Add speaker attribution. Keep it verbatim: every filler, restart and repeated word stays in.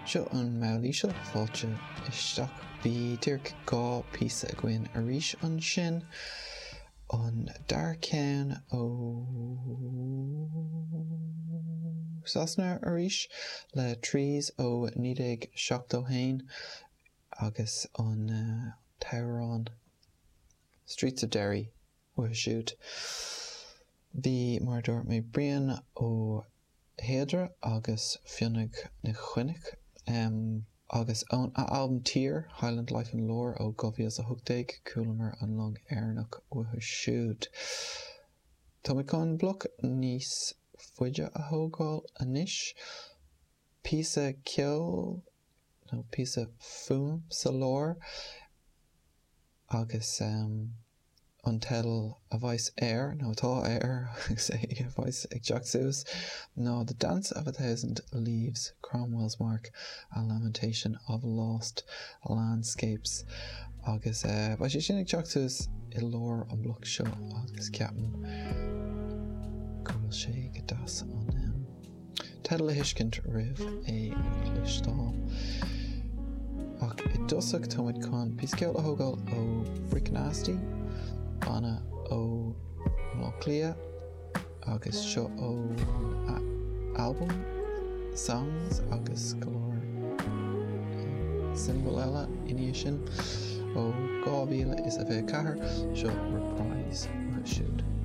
Speaker 1: Seo an Meall Íseal, fáilte isteach. Bhí díreach dhá píosa againn arís ansin. An dara ceann ó Sasana arís le Trees ó naoi déag seachtó haon agus an t-amhrán Streets of Derry uathu siúd. Bhí, mar a dúirt mé, Brian Ó hEadhra agus Fionnadh Nic Choinnich, agus ón a albam Tír, Highland Life and Lore ó dhá mhíle is a hocht déag, chualamar An Long Éireannach uathu siúd. Tá mé chun bloc níos faide a thógáil anois, píosa ceoil nó píosa fuaim sa lár agus an teideal a bheas air, nó atá air agus é a bheas ag teacht suas, ná The Dance of a Thousand Leaves, Cromwell's Mark, A Lamentation of Lost Landscapes. Agus beidh sé sin ag teacht suas i lár an bloc seo agus ceapaim go bhfuil sé go deas an teideal a thuiscint roimh é a chloisteáil. Ach i dtosach táimid chun píosa ceoil a thógáil ó Brick Nasty, banna ó Bhaile Átha Cliath, agus seo ón albam Songs agus go leor singil eile ina dhiaidh sin ó dhá mhíle is a fiche ceathair, seo Reprise uathu siúd.